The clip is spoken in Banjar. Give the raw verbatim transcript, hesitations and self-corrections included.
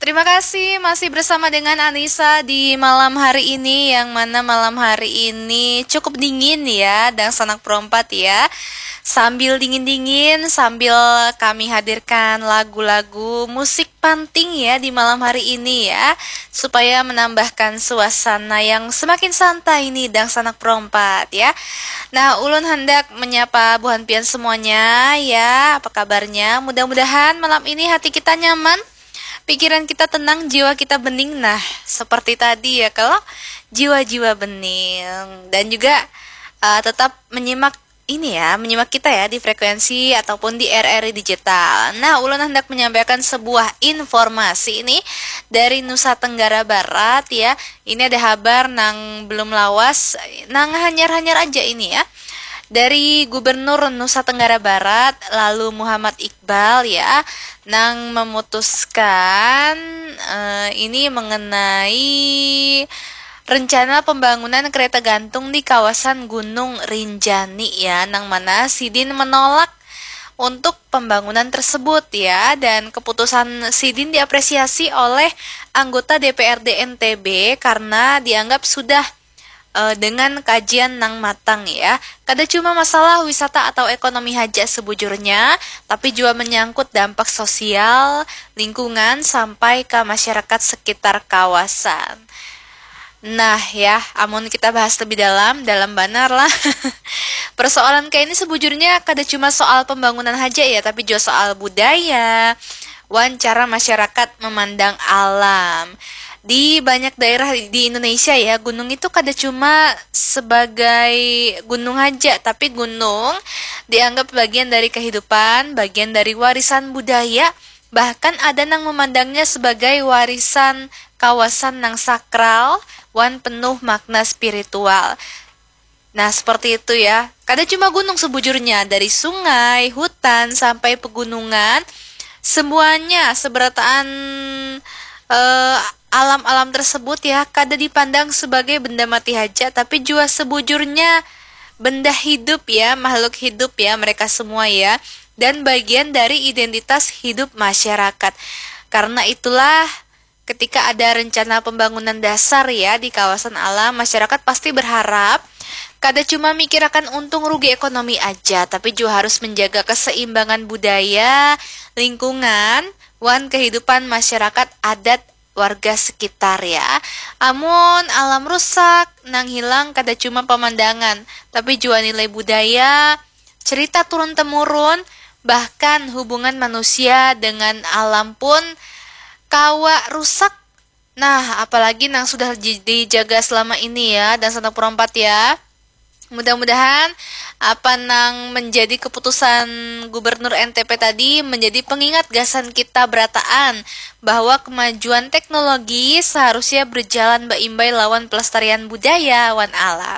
Terima kasih masih bersama dengan Anissa di malam hari ini, yang mana malam hari ini cukup dingin ya, dangsanak perompat ya. Sambil dingin-dingin, sambil kami hadirkan lagu-lagu musik panting ya di malam hari ini ya, supaya menambahkan suasana yang semakin santai nih dangsanak perompat ya. Nah, ulun hendak menyapa buhan pian semuanya ya. Apa kabarnya? Mudah-mudahan malam ini hati kita nyaman, pikiran kita tenang, jiwa kita bening. Nah, seperti tadi ya, kalau jiwa-jiwa bening dan juga uh, tetap menyimak ini ya, menyimak kita ya di frekuensi ataupun di R R I Digital. Nah, ulun hendak menyampaikan sebuah informasi ini dari Nusa Tenggara Barat ya. Ini ada habar nang belum lawas, nang hanyar-hanyar aja ini ya. Dari Gubernur Nusa Tenggara Barat, lalu Muhammad Iqbal ya, nang memutuskan uh, ini mengenai rencana pembangunan kereta gantung di kawasan Gunung Rinjani ya, nang mana sidin menolak untuk pembangunan tersebut ya, dan keputusan sidin diapresiasi oleh anggota D P R D N T B karena dianggap sudah uh, dengan kajian nang matang ya. Kada cuma masalah wisata atau ekonomi haja sebujurnya, tapi juga menyangkut dampak sosial, lingkungan, sampai ke masyarakat sekitar kawasan. Nah ya, amun kita bahas lebih dalam, dalam banar lah. Persoalan kayak ini sebujurnya kada cuma soal pembangunan haja ya, tapi juga soal budaya, wan cara masyarakat memandang alam. Di banyak daerah di Indonesia ya, gunung itu kada cuma sebagai gunung haja, tapi gunung dianggap bagian dari kehidupan, bagian dari warisan budaya, bahkan ada nang memandangnya sebagai warisan kawasan nang sakral wan penuh makna spiritual. Nah, seperti itu ya. Kada cuma gunung sebujurnya, dari sungai, hutan, sampai pegunungan, semuanya seberataan eh, alam-alam tersebut ya, kada dipandang sebagai benda mati haja, tapi juga sebujurnya benda hidup ya, makhluk hidup ya, mereka semua ya, dan bagian dari identitas hidup masyarakat. Karena itulah, ketika ada rencana pembangunan dasar ya di kawasan alam, masyarakat pasti berharap kada cuma mikirakan untung rugi ekonomi aja, tapi juga harus menjaga keseimbangan budaya, lingkungan, wan kehidupan masyarakat adat warga sekitar ya. Amun alam rusak, nang hilang kada cuma pemandangan, tapi juga nilai budaya, cerita turun temurun, bahkan hubungan manusia dengan alam pun kawa rusak. Nah, apalagi nang sudah dijaga selama ini ya, dan santaku perompat ya. Mudah-mudahan apa nang menjadi keputusan Gubernur N T P tadi menjadi pengingat gasan kita berataan bahwa kemajuan teknologi seharusnya berjalan beimbai lawan pelestarian budaya wan alam.